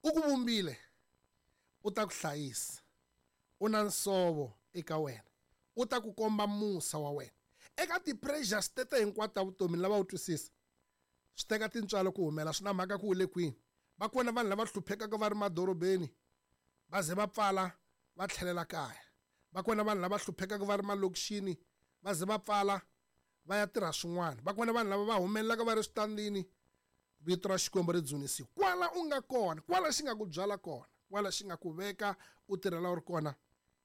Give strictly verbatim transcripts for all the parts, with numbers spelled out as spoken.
U ku vumbile, u ta ku hlayisa. U na nsovo eka wena. U ta ku komba musa wa wena. Eka ti-pressures tete hinkwato ta vutomi ni lava u twisisa. Swi teka tintswalo ku humela, swi na mhaka ku u le kwini. Va kona vanhu lava hluphekaka va ri madorobeni, va ze va pfala va tlhelela kaya. Va kona vanhu lava hluphekaka va ri malokixini, va ze va pfala va ya tirha swin'wana. Va kona vanhu lava va humelelaka va ri switandini, vito ra Xikwembu ri dzunisiwa. Kwala u nga kona, kwala xi nga ku byala kona, kwala xi nga ku veka u tirhela u ri kona,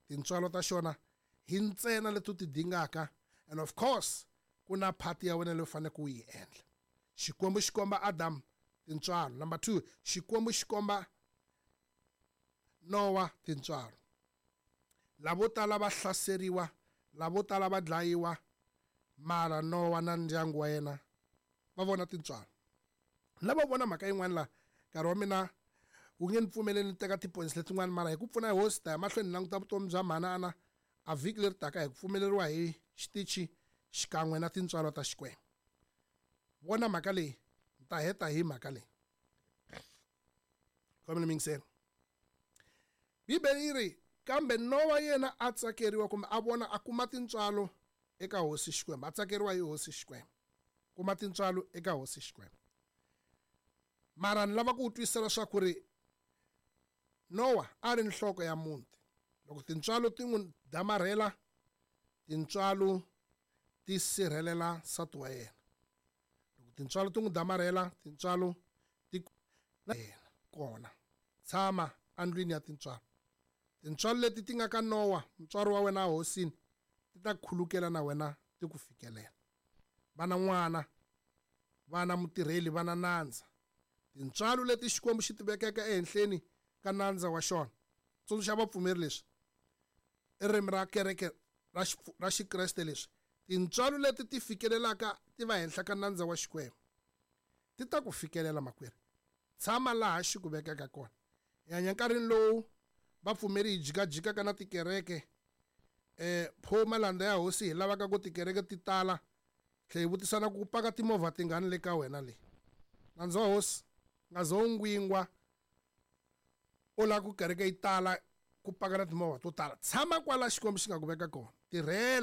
tintswalo ta xona hi ntsena leti u ti dingaka. And of course, ku na part ya wena leyi u faneleke u yi endla. Xikwembu xi komba Adam tintswalo. Number two, Xikwembu xi komba Noah tintswalo. Lavo tala va hlaseriwa, lavo tala va dlayiwa, mara Noah na ndyangu wa yena va vona tintswalo. Lava vona mhaka yin'wana la, nkarhi wa mina wu nge ni pfumeleli ni teka ti-points letin'wana, mara hi ku pfuna hi hosi ta ya mahlweni ni languta vutomi bya manana a vhiki leri taka hi ku pfumeleriwa hi xitichi xikan'we na tintswalo ta Xikwembu. Vona mhaka leyi, ni ta heta hi mhaka leyi. Khomela mingiselo. Bibele yi ri kambe Noah yena a tsakeriwa kumbe a vona a kuma tintswalo eka hosi Xikwembu, a tsakeriwa hi hosi Xikwembu. Kuma tintswalo eka hosi Xikwembu. Mara ni lava ku twisisa leswaku ri Noah a ri nhloko ya muti. Loko tintswalo ti n'wi damarhela, tintswalo ti sirhelela nsati wa yena. Loko tintswalo ti n'wi damarhela, tintswalo ti na yena kona. Tshama endlwini ya tintswalo. Tintswalo leti ti nga ka Noah, mutswari wa wena hosini, ti ta khulukela na wena ti ku fikelela. Vana n'wana, vana mutirheli, vana nandza. Tintswalo leti Xikwembu xi ti vekeke ehenhleni ka nandza wa xona. Tsundzuxa vapfumeri leswi. I ririmi ra kereke ra ra Xikreste leswi. Tintswalo leti ti fikelelaka ti va henhla ka nandza wa Xikwembu. Ti ta ku fikelela makwerhu. Tshama laha xi ku vekaka kona. Hi hanya nkarhini lowu vapfumeri hi jikajikaka na tikereke. Eh, pho malandza ya hosi hi lavaka ku tikereke ti tala. Tlhe hi vutisana ku paka timovha tingani le ka wena le. Nandza wa hosi nga zo ngwingwa u lava ku kereke yi tala ku paka na timovha to tala. Tshama kwala Xikwembu xi nga ku veka kona. Tirhela.